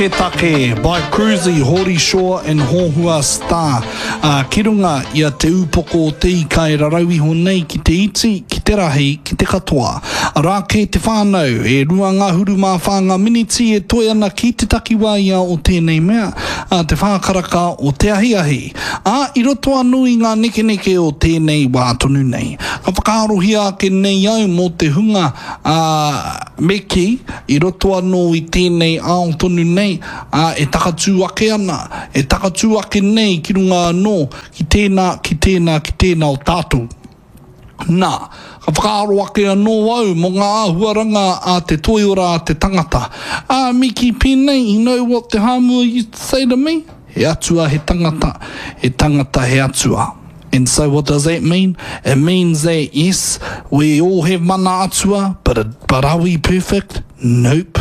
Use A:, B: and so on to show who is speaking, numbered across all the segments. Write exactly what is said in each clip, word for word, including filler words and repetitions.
A: Taketake by Cruzy, Hori Shaw and Hohua Star. Uh, ki runga i a Te Upoko o te Ika e rarau iho nei ki te iti, ki te rahi, ki te katoa. Arā kē te whānau, e rua ngahuru mā whā ngā miniti e toe ana ki te takiwā ia o tēnei mea, a te whā karaka o te ahiahi. Ā, i roto anō i ngā nekeneke o tēnei wā tonu nei. Ka whakaarohia ake nei au mō te hunga, ā, me kī, i roto anō i tēnei ao tonu nei, ā, e takatū ake ana, e takatū ake nei ki runga anō ki tēnā, ki tēnā, ki tēnā o tātou. Nā, ka whakaaro ake anō au mō ngā āhuaranga a te toiora a te tangata. Ā, me kī pēnei, you know what te Hāmua used to say to me? He atua he tangata, he tangata he atua. And so what does that mean? It means that, yes, we all have mana atua, but, it, but are we perfect? Nope.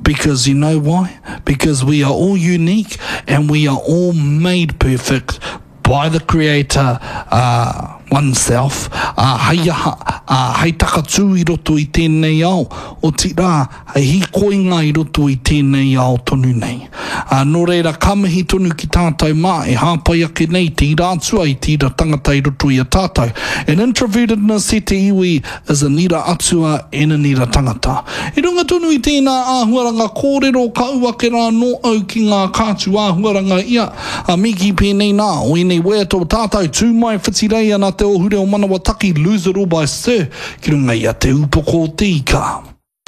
A: Because you know why? Because we are all unique and we are all made perfect by the Creator uh, oneself. Uh, hei aha, uh, hei takatū i roto i tēnei ao, otirā, hei hīkoinga i roto i tēnei ao tonu nei. Uh, nō reira, ka mihi tonu ki tātou mā, e hāpai ake nei te ira atua i te ira tangata i roto i a tātou. And introvertedness e te iwi is an ira atua and an ira tangata. I runga tonu i tēnā āhuaranga kōrero ka ū ake rā nō au ki ngā kātu āhuaranga ia. A me kī pēnei nā, o ēnei waiata o tātou, tū mai whitirei ana te ohu reo manawa taki, Lose It All by Sir, ki runga i a Te Upoko o te Ika.